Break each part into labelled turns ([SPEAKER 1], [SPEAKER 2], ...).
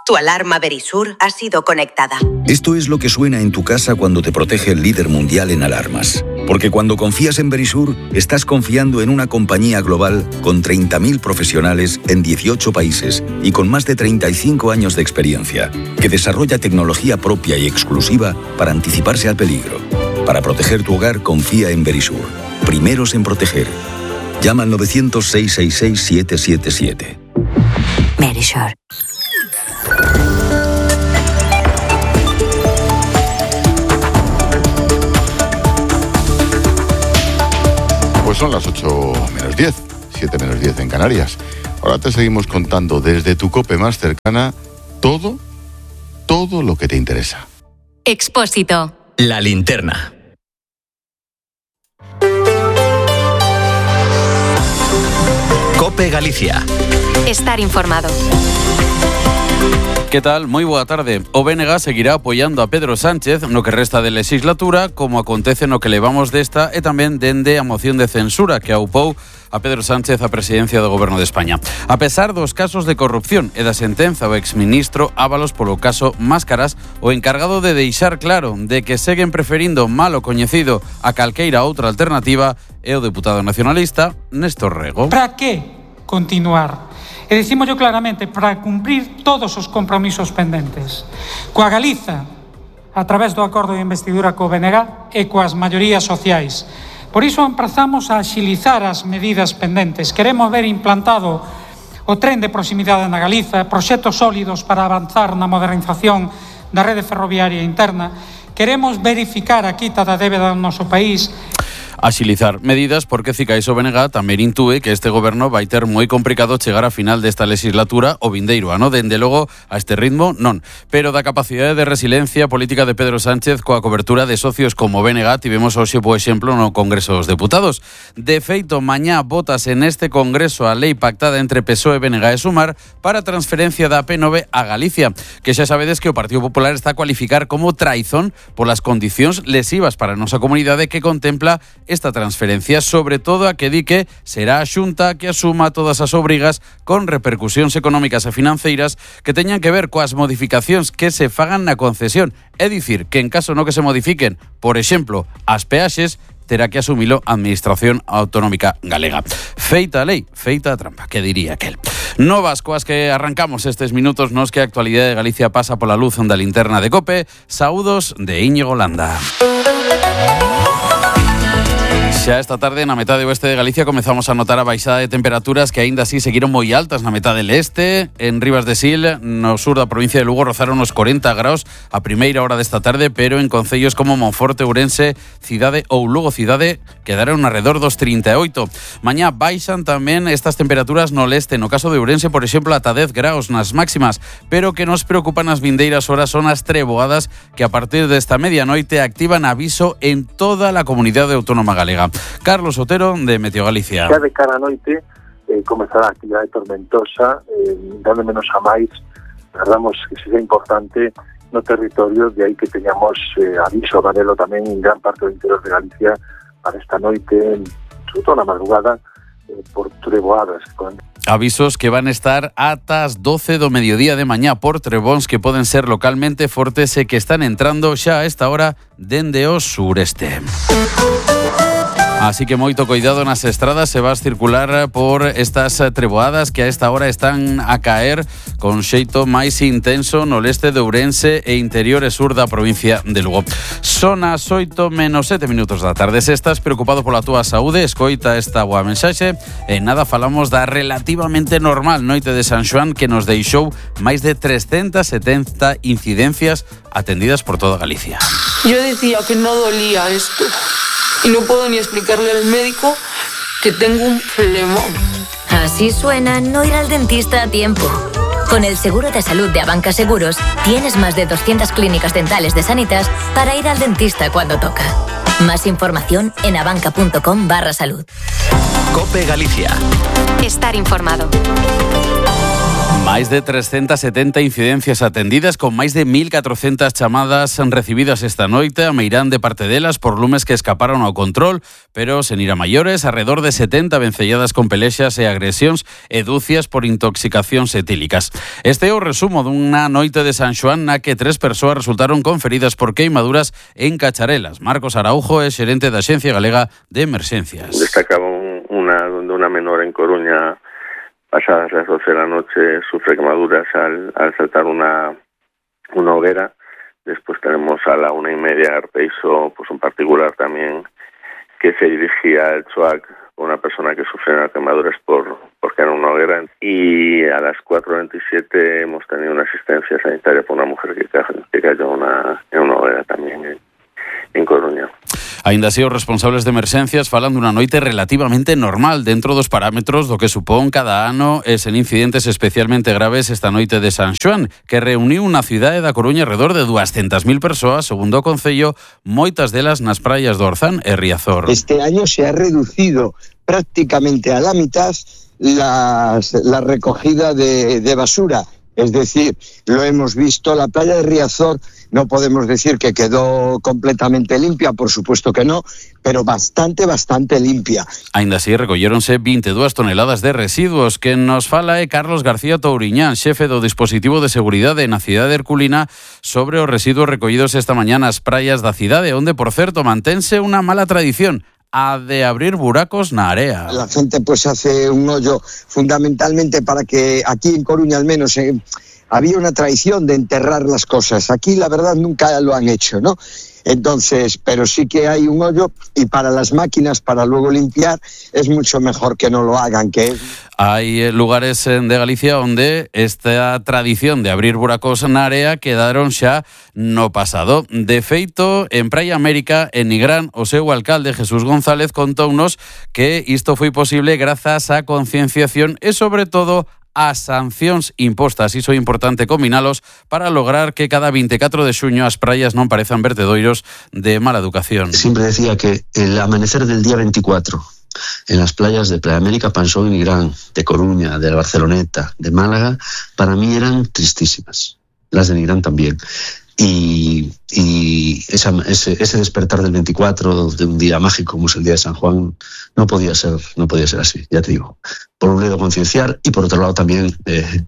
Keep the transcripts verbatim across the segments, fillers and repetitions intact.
[SPEAKER 1] Tu alarma Verisur ha sido conectada.
[SPEAKER 2] Esto es lo que suena en tu casa cuando te protege el líder mundial en alarmas. Porque cuando confías en Verisur, estás confiando en una compañía global con treinta mil profesionales en dieciocho países y con más de treinta y cinco años de experiencia, que desarrolla tecnología propia y exclusiva para anticiparse al peligro. Para proteger tu hogar, confía en Verisur. Primeros en proteger. Llama al novecientos, seiscientos sesenta y seis, siete siete siete.
[SPEAKER 1] Verisur.
[SPEAKER 3] Pues son las ocho menos diez, siete menos diez en Canarias. Ahora te seguimos contando desde tu COPE más cercana todo, todo lo que te interesa.
[SPEAKER 4] Expósito.
[SPEAKER 5] La linterna. COPE Galicia.
[SPEAKER 4] Estar informado.
[SPEAKER 6] ¿Qué tal? Moi boa tarde. O B N G seguirá apoiando a Pedro Sánchez no que resta de legislatura, como acontece no que levamos desta e tamén dende a moción de censura que aupou a Pedro Sánchez a presidencia do Goberno de España. A pesar dos casos de corrupción e da sentenza o exministro Ábalos polo caso Máscaras, o encargado de deixar claro de que seguen preferindo malo coñecido a calqueira outra alternativa é o deputado nacionalista Néstor Rego.
[SPEAKER 7] Para que continuar? E dicímoslo claramente, para cumprir todos os compromisos pendentes. Coa Galiza, a través do acordo de investidura co B N G e coas maiorías sociais. Por iso emprazamos a axilizar as medidas pendentes. Queremos ver implantado o tren de proximidade na Galiza, proxectos sólidos para avanzar na modernización da rede ferroviaria interna. Queremos verificar a quita da débeda do noso país.
[SPEAKER 6] Axilizar medidas porque Cicais o B N G tamén intúe que este goberno vai ter moi complicado chegar a final desta legislatura o vindeiro ano. Dende logo, a este ritmo, non. Pero da capacidade de resiliencia política de Pedro Sánchez coa cobertura de socios como B N G tivemos hoxe, por exemplo, no Congreso dos Deputados. De feito, mañá votase neste Congreso a lei pactada entre P S O E, B N G e Sumar para a transferencia da P nove a Galicia, que xa sabedes que o Partido Popular está a cualificar como traizón polas condicións lesivas para a nosa comunidade que contempla esta transferencia, sobre todo a que di que será a Xunta que asuma todas as obrigas con repercusións económicas e financeiras que teñan que ver coas modificacións que se fagan na concesión. É dicir, que en caso no que se modifiquen, por exemplo, as peaxes, terá que asumilo a Administración Autonómica Galega. Feita a lei, feita a trampa, que diría aquel. Novas coas que arrancamos estes minutos nos que a actualidade de Galicia pasa pola luz da linterna de COPE. Saúdos de Íñigo Landa. Xa esta tarde na metade oeste de Galicia comezamos a notar a baixada de temperaturas que aínda así seguiron moi altas na metade leste. En Rivas de Sil, no sur da provincia de Lugo, rozaron os corenta graus a primeira hora desta tarde, pero en concellos como Monforte, Ourense, Cidade ou Lugo Cidade quedaron alrededor dos trinta e oito. Mañá baixan tamén estas temperaturas no leste, no caso de Ourense, por exemplo, ata dez graus nas máximas, pero que nos preocupan as vindeiras horas son as treboadas que a partir desta medianoite activan aviso en toda a comunidade autónoma galega. Carlos Otero, de Meteo Galicia.
[SPEAKER 8] Xa de cara a noite eh, comezará a actividade tormentosa, eh, dando menos a máis, agardamos que seja importante no territorio, de aí que teñamos eh, aviso amarelo tamén en gran parte do interior de Galicia para esta noite, sobre todo na madrugada, eh, por treboadas.
[SPEAKER 6] Avisos que van a estar ata as doce do mediodía de mañá por trebóns que poden ser localmente fortes e que están entrando xa a esta hora dende o sureste. Así que moito cuidado nas estradas se vas circular por estas treboadas que a esta hora están a caer con xeito máis intenso no leste de Ourense e interior e sur da provincia de Lugo. Son as oito menos sete minutos da tarde. Se estás preocupado pola túa saúde, escoita esta boa mensaxe. E nada, falamos da relativamente normal noite de San Xoán que nos deixou máis de trescentas setenta incidencias atendidas por toda Galicia.
[SPEAKER 9] Yo decía que no dolía esto. Y no puedo ni explicarle al médico que tengo un flemón.
[SPEAKER 10] Así suena no ir al dentista a tiempo. Con el seguro de salud de Abanca Seguros, tienes más de doscientas clínicas dentales de Sanitas para ir al dentista cuando toca. Más información en abanca.com barra salud.
[SPEAKER 5] COPE Galicia.
[SPEAKER 4] Estar informado.
[SPEAKER 6] Máis de trescentas setenta incidencias atendidas con máis de mil catrocentas chamadas recibidas esta noite a meirán de parte delas por lumes que escaparon ao control, pero sen ir a maiores, arredor de setenta vencelladas con pelexas e agresións e dúcias por intoxicacións etílicas. Este é o resumo dunha noite de San Xoán na que tres persoas resultaron con feridas por queimaduras en Cacharelas. Marcos Araujo é xerente da Axencia Galega de Emerxencias.
[SPEAKER 11] Destacaba una, una menor en Coruña. Pasadas las doce de la noche sufre quemaduras al, al saltar una, una hoguera. Después tenemos a la una y media Arteiso, pues un particular también que se dirigía al Chuac, una persona que sufrió quemaduras por porque era una hoguera. Y a las cuatro veintisiete hemos tenido una asistencia sanitaria por una mujer que, que cayó una, en una hoguera también en, en Coruña.
[SPEAKER 6] Ainda así, os responsables de emerxencias falan dunha noite relativamente normal dentro dos parámetros do que supón cada ano e sen incidentes especialmente graves esta noite de San Xoán, que reuniu na cidade da Coruña alrededor de doscientas mil persoas, segundo o Concello, moitas delas nas praias do Orzán e Riazor.
[SPEAKER 12] Este año se ha reducido prácticamente a la mitad las, la recogida de, de basura. Es decir, lo hemos visto, la playa de Riazor no podemos decir que quedó completamente limpia, por supuesto que no, pero bastante, bastante limpia.
[SPEAKER 6] Ainda así, recolléronse veintidúas toneladas de residuos. Que nos fala é Carlos García Touriñán, xefe do dispositivo de seguridade na cidade de Herculina, sobre os residuos recollidos esta mañá nas praias da cidade, onde, por certo, mantense unha mala tradición, a de abrir buracos na area.
[SPEAKER 12] La gente pues hace un hoyo fundamentalmente para que aquí en Coruña al menos eh, había una tradición de enterrar las cosas. Aquí la verdad nunca lo han hecho, ¿no? Entonces, pero sí que hay un hoyo y para las máquinas, para luego limpiar, es mucho mejor que no lo hagan, que es...
[SPEAKER 6] Hai lugares de Galicia onde esta tradición de abrir buracos na área quedaron xa no pasado. De feito, en Praia América, en Nigrán, o seu alcalde Jesús González contounos que isto foi posible grazas á concienciación e, sobre todo, as sancións impostas. Iso é importante combinalos para lograr que cada veinticuatro de xuño as praias non parezan vertedoiros de mala educación.
[SPEAKER 13] Siempre decía que el amanecer del día veinticuatro en las playas de Playa América, Pansón y Nigrán, de Coruña, de Barceloneta, de Málaga, para mí eran tristísimas. Las de Nigrán también. Y, y esa, ese, ese despertar del veinticuatro de un día mágico como es el día de San Juan no podía ser, no podía ser así, ya te digo. Por un lado concienciar y por otro lado también eh,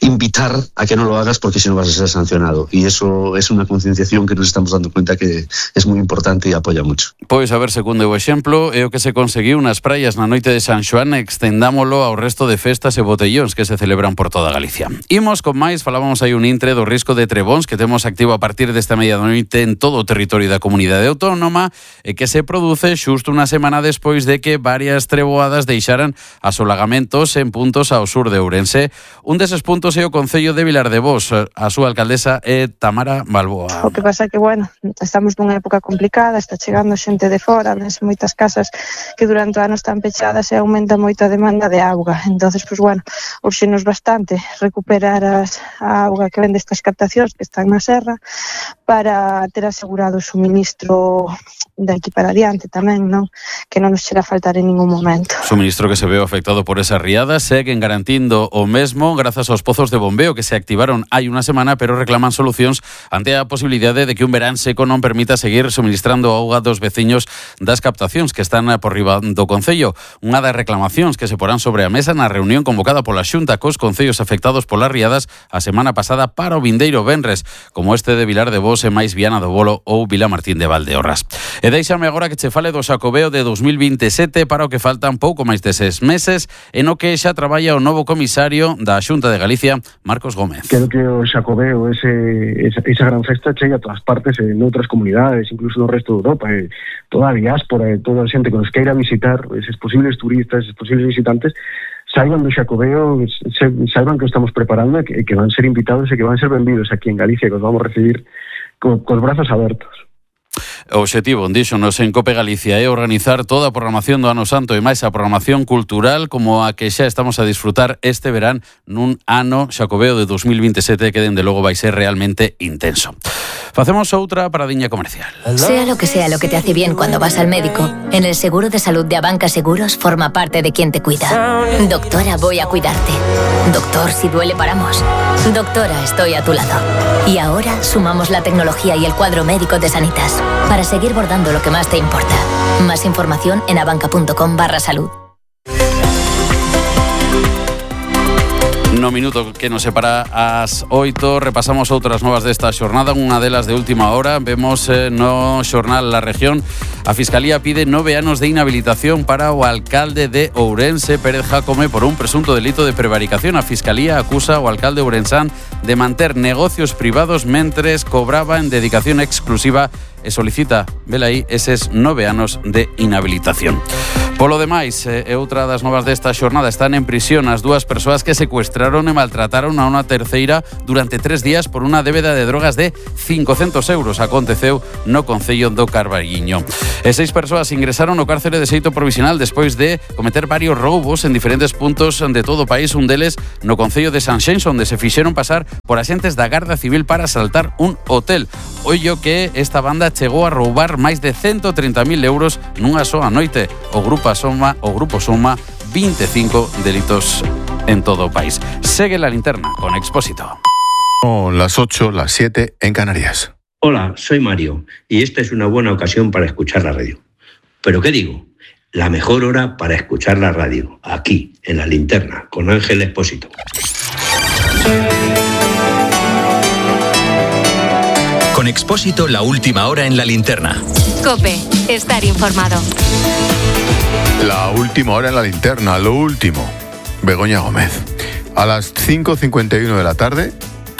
[SPEAKER 13] invitar a que no lo hagas porque si no vas a ser sancionado. Y eso es una concienciación que nos estamos dando cuenta que es muy importante y apoya mucho.
[SPEAKER 6] Pois a ver, segundo o exemplo, é o que se conseguiu nas praias na noite de San Xoán, extendámolo ao resto de festas e botellóns que se celebran por toda Galicia. Imos con máis, falábamos aí un intre do risco de trebóns que temos activo a partir desta medianoite en todo o territorio da comunidade autónoma e que se produce xusto unha semana despois de que varias treboadas deixaran asolagamentos en puntos ao sur de Ourense. Un deses puntos é o Concello de Vilar de Bos. A súa alcaldesa é Tamara Balboa.
[SPEAKER 14] O que pasa é que, bueno, estamos nunha época complicada, está chegando xente de fora, nas moitas casas que durante o ano están pechadas e aumenta moito a demanda de auga. Entonces, pues bueno, urxenos bastante recuperar as, a auga que ven destas captacións que están na serra para ter asegurado o suministro de aquí para adiante tamén, non? Que non nos chega a faltar en ningún momento.
[SPEAKER 6] Suministro que se veo afectado por esas riadas seguen garantindo o mesmo grazas aos pozos de bombeo que se activaron hai unha semana, pero reclaman solucións ante a posibilidade de que un verán seco non permita seguir suministrando auga dos veciños das captacións que están por riba do Concello. Unha das reclamacións que se porán sobre a mesa na reunión convocada pola Xunta cos concellos afectados polas riadas a semana pasada para o vindeiro venres, como este de Vilar de Bos e máis Viana do Bolo ou Vilamartín de Valdeorras. E deixame agora que che fale do Xacobeo de dos mil veintisiete para o que faltan pouco máis de seis meses e no que xa traballa o novo comisario da Xunta de Galicia, Marcos Gómez.
[SPEAKER 15] Quero que o Xacobeo, ese, esa, esa gran festa, chegue a todas partes, en outras comunidades, incluso no resto de Europa, e toda a diáspora, e toda a xente que nos queira visitar, eses posibles turistas, eses posibles visitantes, saiban do Xacobeo, saiban que estamos preparando e que, que van ser invitados e que van ser benvidos aquí en Galicia, que os vamos a recibir co, cos brazos abertos.
[SPEAKER 6] O obxectivo, díxonos en Cope Galicia, é organizar toda a programación do Ano Santo e máis a programación cultural como a que xa estamos a disfrutar este verán nun ano xacobeo de dos mil veintisiete que dende logo vai ser realmente intenso. Facemos outra paradiña comercial.
[SPEAKER 10] Sea lo que sea lo que te hace bien cuando vas al médico, en el seguro de salud de Abanca Seguros forma parte de quien te cuida. Doctora, voy a cuidarte. Doctor, si duele paramos. Doctora, estoy a tu lado. Y ahora sumamos la tecnología y el cuadro médico de Sanitas para seguir bordando lo que más te importa. Más información en abanca.com barra salud.
[SPEAKER 6] No minuto que nos separa ás oito, repasamos outras novas desta xornada, unha delas de última hora. Vemos eh, no xornal La Región, a Fiscalía pide nove anos de inhabilitación para o alcalde de Ourense, Pérez Jácome, por un presunto delito de prevaricación. A Fiscalía acusa ao alcalde ourensán de manter negocios privados mentres cobraba en dedicación exclusiva e solicita, vela aí, eses nove anos de inhabilitación. Polo demais, e outra das novas desta xornada, están en prisión as dúas persoas que secuestraron e maltrataron a unha terceira durante tres días por unha débeda de drogas de cincocentos euros. Aconteceu no Concello do Carballiño. E seis persoas ingresaron no cárcere de xeito provisional despois de cometer varios roubos en diferentes puntos de todo o país, un deles no Concello de Sanxenxo, onde se fixeron pasar por axentes da Garda Civil para asaltar un hotel. Ollo que esta banda chegou a roubar máis de ciento treinta mil euros nunha soa noite. O grupo Soma, o grupo suma veinticinco delitos en todo o país. Segue la linterna con Expósito.
[SPEAKER 3] Son las ocho, las siete en Canarias.
[SPEAKER 16] Hola, soy Mario y esta es una buena ocasión para escuchar la radio. ¿Pero qué digo? La mejor hora para escuchar la radio, aquí, en la linterna, con Ángel Expósito.
[SPEAKER 5] Con Expósito, la última hora en la linterna.
[SPEAKER 4] COPE, estar informado.
[SPEAKER 3] La última hora en la linterna, lo último. Begoña Gómez. A las cinco cincuenta y uno de la tarde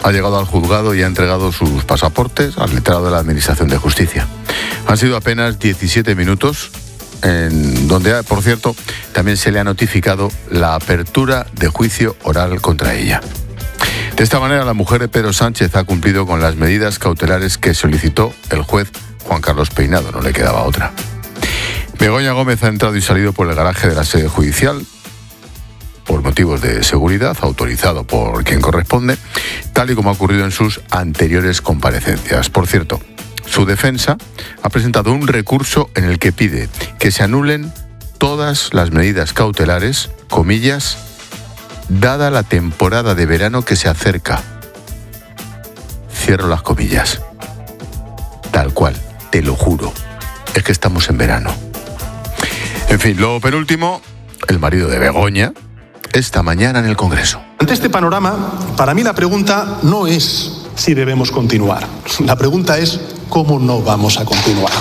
[SPEAKER 3] ha llegado al juzgado y ha entregado sus pasaportes al letrado de la Administración de Justicia. Han sido apenas diecisiete minutos, en donde, por cierto, también se le ha notificado la apertura de juicio oral contra ella. De esta manera, la mujer de Pedro Sánchez ha cumplido con las medidas cautelares que solicitó el juez Juan Carlos Peinado, no le quedaba otra. Begoña Gómez ha entrado y salido por el garaje de la sede judicial por motivos de seguridad, autorizado por quien corresponde, tal y como ha ocurrido en sus anteriores comparecencias. Por cierto, su defensa ha presentado un recurso en el que pide que se anulen todas las medidas cautelares, comillas, dada la temporada de verano que se acerca. Cierro las comillas. Tal cual, te lo juro, es que estamos en verano. En fin, lo penúltimo, el marido de Begoña, esta mañana en el Congreso.
[SPEAKER 17] Ante este panorama, para mí la pregunta no es si debemos continuar. La pregunta es cómo no vamos a continuar.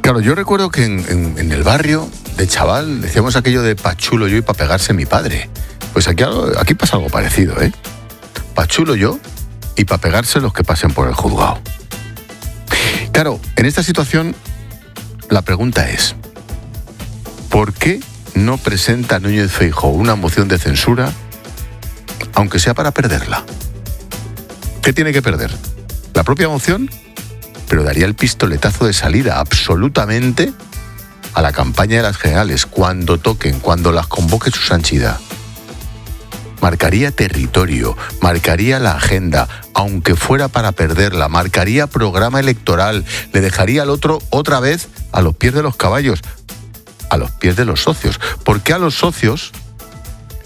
[SPEAKER 3] Claro, yo recuerdo que en, en, en el barrio, de chaval, decíamos aquello de pa' chulo yo y pa' pegarse mi padre. Pues aquí, aquí pasa algo parecido, ¿eh? Pa' chulo yo y pa' pegarse los que pasen por el juzgado. Claro, en esta situación, la pregunta es, ¿por qué no presenta Núñez Feijóo una moción de censura, aunque sea para perderla? ¿Qué tiene que perder? ¿La propia moción? Pero daría el pistoletazo de salida absolutamente a la campaña de las generales, cuando toquen, cuando las convoque su santidad. Marcaría territorio, marcaría la agenda, aunque fuera para perderla, marcaría programa electoral, le dejaría al otro otra vez a los pies de los caballos, a los pies de los socios, porque a los socios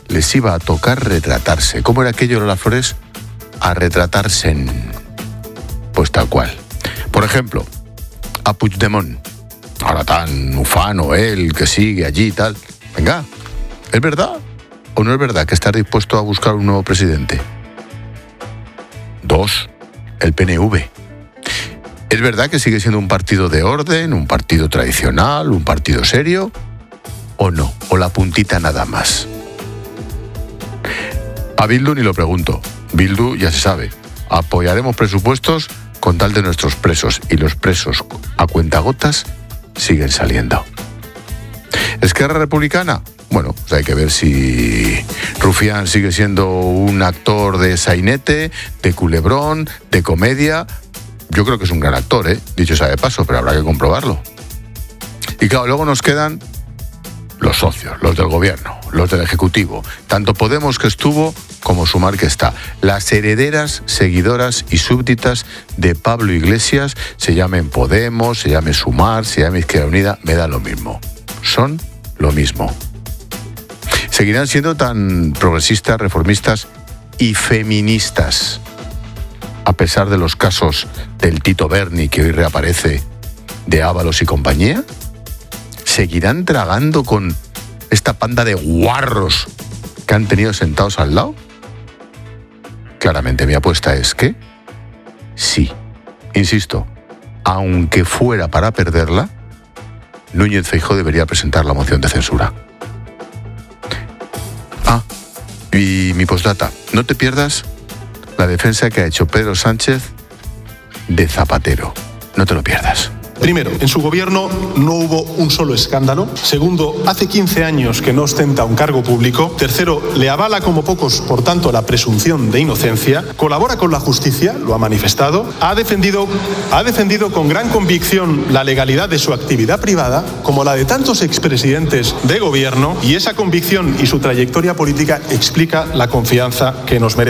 [SPEAKER 3] les iba a tocar retratarse. ¿Cómo era aquello, Lola Flores? A retratarse en... Pues tal cual. Por ejemplo, a Puigdemont, ahora tan ufano él, que sigue allí y tal. Venga, ¿es verdad o no es verdad que está dispuesto a buscar un nuevo presidente? Dos, el P N V. ¿Es verdad que sigue siendo un partido de orden, un partido tradicional, un partido serio? ¿O no? ¿O la puntita nada más? A Bildu ni lo pregunto. Bildu ya se sabe. Apoyaremos presupuestos con tal de nuestros presos, y los presos a cuentagotas siguen saliendo. ¿Esquerra Republicana? Bueno, pues hay que ver si Rufián sigue siendo un actor de sainete, de culebrón, de comedia, yo creo que es un gran actor, ¿eh? Dicho sea de paso, pero habrá que comprobarlo. Y claro, luego nos quedan los socios, los del gobierno, los del Ejecutivo, tanto Podemos, que estuvo, como Sumar, que está. Las herederas, seguidoras y súbditas de Pablo Iglesias, se llamen Podemos, se llame Sumar, se llame Izquierda Unida, me da lo mismo. Son lo mismo. Seguirán siendo tan progresistas, reformistas y feministas, a pesar de los casos del Tito Berni, que hoy reaparece, de Ábalos y compañía. ¿Seguirán tragando con esta panda de guarros que han tenido sentados al lado? Claramente mi apuesta es que sí. Insisto, aunque fuera para perderla, Núñez Feijóo debería presentar la moción de censura. Ah, y mi postdata. No te pierdas la defensa que ha hecho Pedro Sánchez de Zapatero. No te lo pierdas.
[SPEAKER 17] Primero, en su gobierno no hubo un solo escándalo. Segundo, hace quince años que no ostenta un cargo público. Tercero, le avala como pocos, por tanto, la presunción de inocencia. Colabora con la justicia, lo ha manifestado. Ha defendido, ha defendido con gran convicción la legalidad de su actividad privada, como la de tantos expresidentes de gobierno, y esa convicción y su trayectoria política explica la confianza que nos merece.